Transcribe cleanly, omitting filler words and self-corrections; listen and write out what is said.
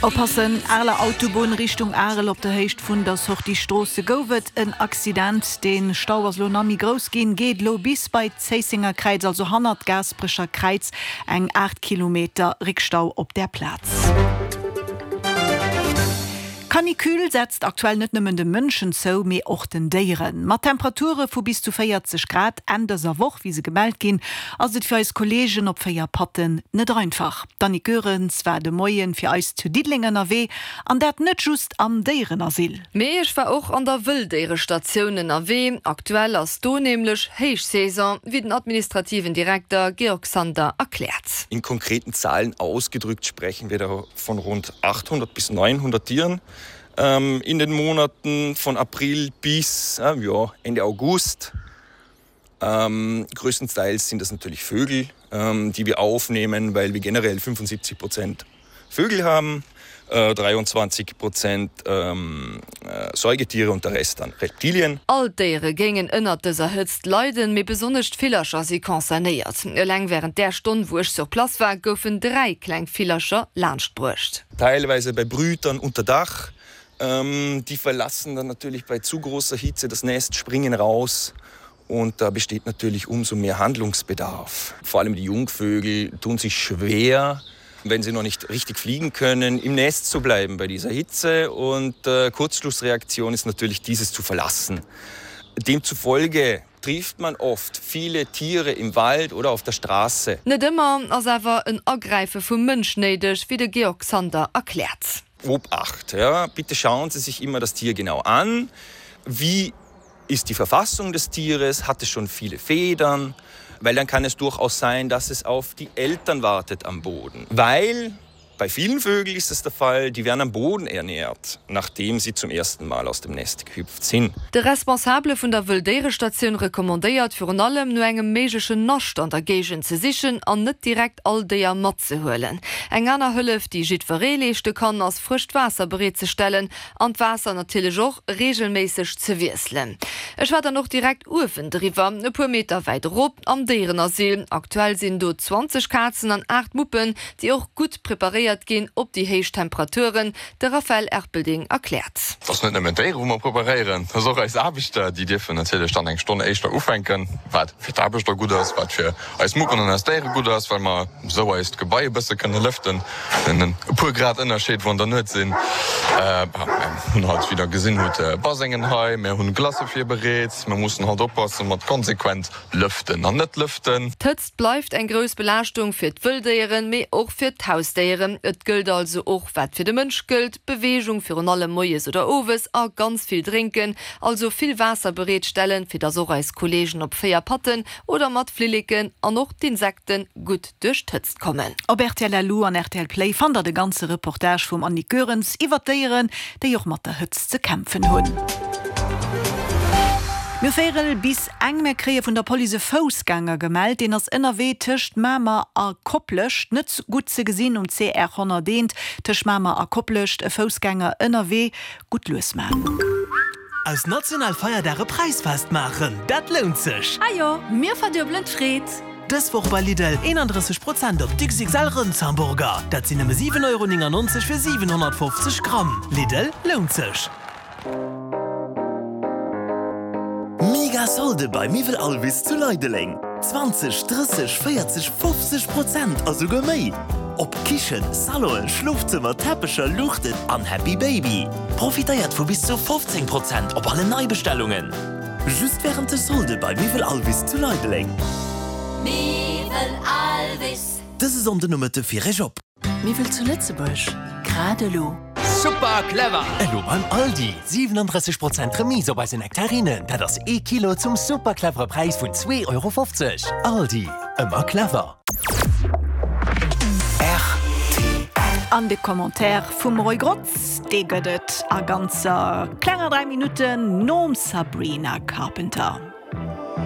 Oppassen, Areler Autobunn Richtung Arel op der Héicht vun der Sortie Stroosse gouf et en Accident. Den Stau ass lo nach méi grouss ginn, geet lo bis bei d'Zéissenger Kräiz, also hannert d'Gaasperecher Kräiz. Eng 8 Kilometer Réckstau op där Plaz. D'Canicule setzt aktuell net nëmmen de Mënschen zou, mee och den Déieren. Mat Temperature vu bis zu 40 Grad Enn dëser Woch, wéi se gemellt ginn, ass et fir eis Kolleegen op 4 Patten net einfach. D'Annick Goerens war de Moien fir eis zu Diddeleng ënnerwee, an dat net just am Déierenasyl. Mee ech war och an der Wëlldéierestatioun ënnerwee. Aktuell ass do nämlech Héichsaison, wéi den administrativen Direkter Georg Sander erkläert. In konkreten Zahlen ausgedrückt sprechen wir da von rund 800 bis 900 Tieren ähm, in den Monaten von April bis äh, ja, Ende August. Ähm, größtenteils sind das natürlich Vögel, ähm, die wir aufnehmen, weil wir generell 75 Prozent Vögel haben, äh, 23 Prozent ähm, äh, Säugetiere und der Rest dann Reptilien. All d'Déiere géingen ënnert dëser Hëtzt leiden, mee besonnesch d'Villercher si concernéiert. Eleng wärend där Stonn, wou ech sur place war, goufen 3 kleng Villercher laanscht bruecht. Teilweise bei Brütern unter Dach. Ähm, die verlassen dann natürlich bei zu großer Hitze das Nest, springen raus und da besteht natürlich umso mehr Handlungsbedarf. Vor allem die Jungvögel tun sich schwer, wenn sie noch nicht richtig fliegen können, im Nest zu bleiben bei dieser Hitze und äh, Kurzschlussreaktion ist natürlich dieses zu verlassen. Demzufolge trifft man oft viele Tiere im Wald oder auf der Straße. Net ëmmer ass awer en Agräife vum Mënsch néideg, wéi de Georg Sander erkläert. Obacht, ja, bitte schauen Sie sich immer das Tier genau an. Wie ist die Verfassung des Tieres? Hat es schon viele Federn? Weil dann kann es durchaus sein, dass es auf die Eltern wartet am Boden. Weil bei vielen Vögeln ist es der Fall, die werden am Boden ernährt, nachdem sie zum ersten Mal aus dem Nest gehüpft sind. De Responsabele vun der Wëlldéierestatioun recommandéiert virun allem, no engem méiglechen Nascht an der Géigend ze sichen an net direkt all Déier matzehuelen. Eng aner Hëllef, déi jiddweree leeschte kann, ass frëscht Waasser bereetzestellen an d'Waasser natierlech och reegelméisseg ze wiesselen. Ech war dann och direkt uewendriwwer, e puer Meter wäit erop, am Déierenasyl. Aktuell sinn do 20 Kazen an 8 Muppen, déi och gutt preparéiert ginn op déi héich Temperaturen. De Raphaël Erpelding erkläert. Et ass net nëmmen d'Déiere wou mer preparéieren, et ass och eis Aarbechter. Déi dierfen natierlech dann eng Stonn éischter ufänken, wat fir d'Aarbechter gutt ass, wat fir eis Muppen an eis Déiere gutt ass, well mer esou eist Gebai e bësse kënne lëften. En e puer Grad Ënnerscheed, wou an der Nuet sinn. Mir hunn halt, wéi der gesinn hutt, Basengen hei, mir hunn Glacë virbereet. Mir mussen halt oppasse mat konsequent lëften an net lëften. D'Hëtzt bleift eng grouss Belaaschtung fir d'Wëlldéieren, mee och fir d'Hausdéieren. Et gëllt also och, wat fir de Mënsch gëllt, Beweegung, virun allem moies oder owes, a ganz vill drénken, also vill Waasser bereetstellen, fir dass och eis Kolleegen op 4 Patten oder mat Flilleken an och d'Insekten gutt duerch d'Hëtzt kommen. Op rtl LU an rtl Play fannt der de ganze Reportage vum Annick Goerens iwwer d'Déieren, déi och mat der Hëtzt ze kämpfen hunn. Mir hu véierel bis eng. Mir kréie vun der Police e Foussgänger gemellt. Deen ass ënnerwee tëscht Mamer a Koplescht. Net gutt ze gesinn um CR 101 tëscht Mamer a Koplescht. E Foussgänger ënnerwee. Gutt lues man. Aus national Feierdag e Präisfest maachen, dat lount sech! Ajo, mir verduebelen d'Freed! Dës Woch bei Lidl, 31 Prozent op d'XXL Rëndshamburger, dat sinn nëmme 7,99 Euro fir 750 Gramm. Lidl, lount sech! Mega Solde bei Miwwel Alvis zu Leideleng! 20, 30, 40, 50 Prozent a souguer méi! Op Kichen, Salonen, Schlofzëmmer, Teppecher, Luuchten an Happy Baby. Profitéiert vu bis zu 15 Prozent op alle Neibestellungen! Just wärend de Solde bei Miwwel Alvis zu Leideleng. Miwwel Alvis. Dëse Sonndenomëtte fir Iech op. Miwwel zu Lëtzebuerg, grad elo. Super clever! Elo beim Aldi, 37 Prozent Remise op eise Nektarinen, dat ass ee Kilo zum super clevere Präis vun 2,50 Euro. Aldi, ëmmer clever. An de Commentaire vum Roy Grotz, dee gëtt et a ganzer klenger 3 Minutten nom Sabrina Carpenter.